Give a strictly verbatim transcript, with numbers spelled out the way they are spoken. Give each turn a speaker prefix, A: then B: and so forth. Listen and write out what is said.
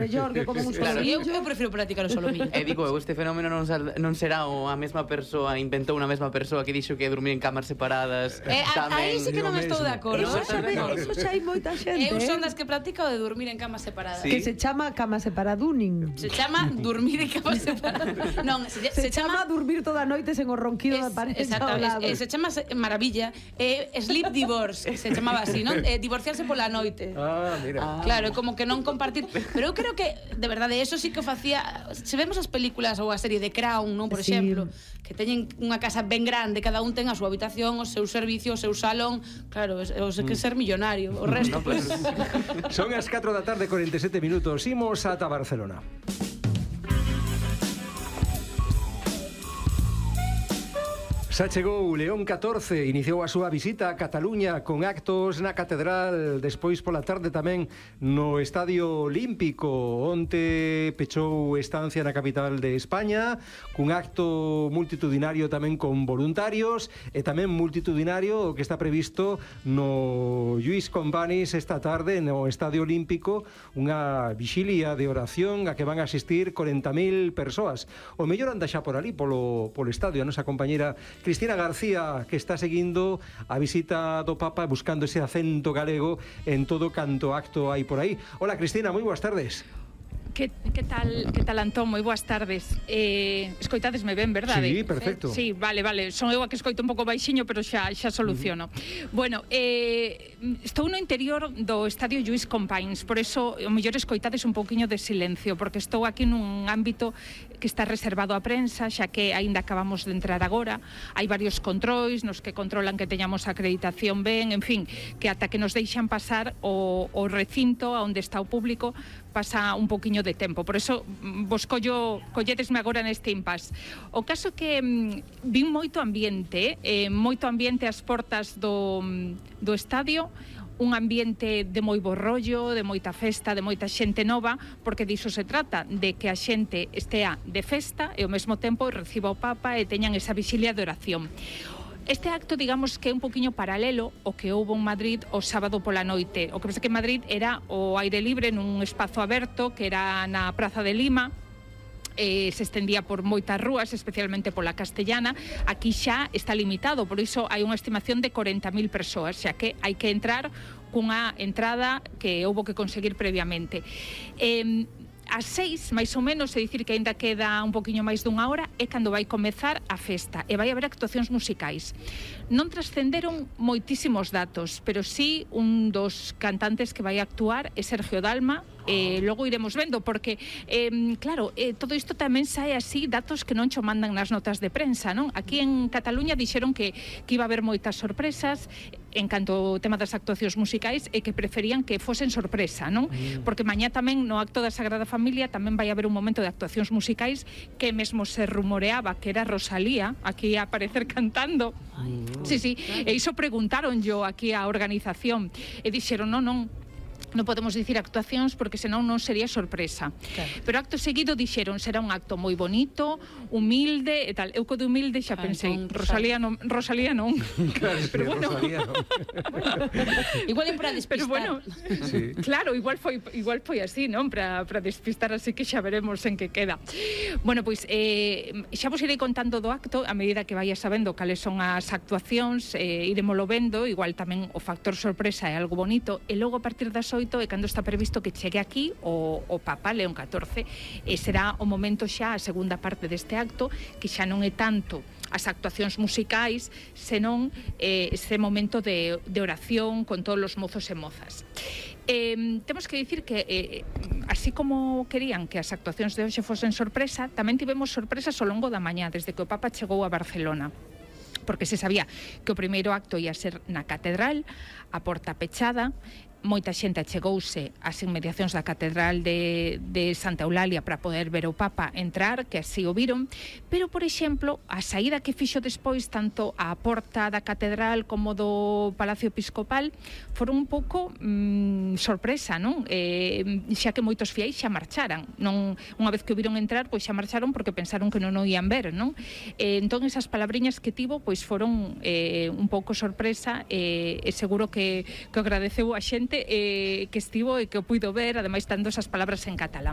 A: mellor que como un
B: Claro, eu,
A: solomillo.
B: eu prefiro practicar o solomillo.
C: E digo, eu, este fenómeno non, sal, non será o a mesma persoa, inventou unha mesma persoa que dixo que dormir en camas separadas.
B: Eh, a, aí sí que non estou de acordo.
A: Eso xa, ve, eso xa hai moita xente.
B: Eu son
A: eh,
B: das que practica o de dormir en camas separadas.
C: Sí.
A: Que se chama cama separaduning.
B: Se chama dormir en camas separadas. Non, se,
A: Se,
B: se
A: chama
B: chama
A: durmir toda a noite sen o ronquido da
B: Es,
A: pareja
B: exacto,
A: ao lado.
B: es, es, se chama se- maravilla eh, Sleep Divorce, se chamaba así, non? Eh, divorciarse pola noite.
D: Ah, mira.
B: Claro, é como que non compartir. Pero eu creo que, de verdade, eso sí que o facía. Se vemos as películas ou a serie de Crown, non, por
A: Sí.
B: exemplo, que teñen unha casa ben grande, cada un ten a súa habitación, o seu servicio, o seu salón. Claro, é o que ser millonario. O resto,
C: No,
B: pues,
C: pues,
D: Son as catro da tarde, cuarenta e sete minutos. Imos ata Barcelona. Xa chegou León catorce, iniciou a súa visita a Cataluña con actos na Catedral, despois pola tarde tamén no Estadio Olímpico, onte pechou estancia na capital de España, cun acto multitudinario tamén con voluntarios e tamén multitudinario o que está previsto no Lluís Companys esta tarde no Estadio Olímpico, unha vixilia de oración a que van a asistir corenta mil persoas. O mellor anda xa por ali, polo, polo estadio, a nosa compañeira Cristina García, que está seguindo a visita do Papa buscando ese acento galego en todo canto acto hai por aí. Hola Cristina, moi boas tardes.
E: Que, que tal, que tal Antón? Moi boas tardes. Eh, escoitadesme ben, verdade?
D: Sí, perfecto.
E: Sí, vale, vale. Son eu a que escoito un pouco baixiño, pero xa xa soluciono. Uh-huh. Bueno, eh, estou no interior do Estadio Lluís Companys, por eso o mellor escoitades un pouquiño de silencio, porque estou aquí nun ámbito que está reservado á prensa, xa que aínda acabamos de entrar agora. Hai varios controis nos que controlan que teñamos acreditación ben, en fin, que ata que nos deixan pasar o, o recinto onde está o público pasa un pouquiño de tempo, por eso vos collo, colledesme agora neste impas. O caso que mm, vin moito ambiente, eh, moito ambiente ás portas do, do estadio, un ambiente de moi bo rollo, de moita festa, de moita xente nova, porque diso se trata, de que a xente estea de festa e ao mesmo tempo reciba o Papa e teñan esa vixilia de oración. Este acto, digamos que é un poquinho paralelo ao que houbo en Madrid o sábado pola noite. O que pasa que en Madrid era o aire libre nun espazo aberto que era na Praza de Lima, eh, se estendía por moitas rúas, especialmente pola Castellana. Aquí xa está limitado, por iso hai unha estimación de corenta mil persoas, xa que hai que entrar cunha entrada que houbo que conseguir previamente. Eh, As seis, máis ou menos, é dicir que aínda queda un poquinho máis dunha hora, é cando vai comezar a festa e vai haber actuacións musicais. Non trascenderon moitísimos datos, pero sí un dos cantantes que vai actuar é Sergio Dalma, e logo iremos vendo, porque, eh, claro, eh, todo isto tamén sae así, datos que non cho mandan nas notas de prensa, non? Aquí en Cataluña dixeron que, que iba a haber moitas sorpresas en canto ao tema das actuacións musicais e que preferían que fosen sorpresa, non? Mm. Porque mañá tamén no acto da Sagrada Familia tamén vai haber un momento de actuacións musicais que mesmo se rumoreaba que era Rosalía aquí a aparecer cantando. Ay, sí, sí, e iso preguntaron yo aquí á organización e dixeron, non, non, non podemos dicir actuacións porque senón non sería sorpresa. Claro. Pero acto seguido dixeron, será un acto moi bonito, humilde e tal. Eu co de humilde xa ah, pensei, entón, Rosalía non, Rosalía non.
D: Claro,
E: pero
D: sí,
E: bueno,
D: Rosalía non.
B: igual é para despistar.
E: Pero bueno, sí. Claro, igual foi igual foi así, non? Para para despistar, así que xa veremos en que queda. Bueno, pois eh, xa vos irei contando do acto a medida que vaya sabendo cales son as actuacións, eh, iremolo vendo, igual tamén o factor sorpresa é algo bonito, e logo a partir das e cando está previsto que chegue aquí o, o Papa León catorce, e será o momento xa a segunda parte deste acto, que xa non é tanto as actuacións musicais, senón eh, ese momento de, de oración con todos os mozos e mozas. Eh, temos que dicir que eh, así como querían que as actuacións de hoxe fosen sorpresa, tamén tivemos sorpresas ao longo da mañá, desde que o Papa chegou a Barcelona, porque se sabía que o primeiro acto ia ser na Catedral, a porta pechada. Moita xente achegouse ás inmediacións da Catedral de, de Santa Eulalia para poder ver o Papa entrar, que así o viron, pero, por exemplo, a saída que fixo despois tanto a porta da Catedral como do Palacio Episcopal foron un pouco mmm, sorpresa, non? Eh, xa que moitos fiéis xa marcharan, non, unha vez que o viron entrar, pois xa marcharon porque pensaron que non o ian ver, non? Eh, entón, esas palabriñas que tivo, pois foron eh, un pouco sorpresa, eh, e seguro que, que agradeceu a xente xente eh, que estivo e que o puido ver, ademais dando esas palabras en catalán.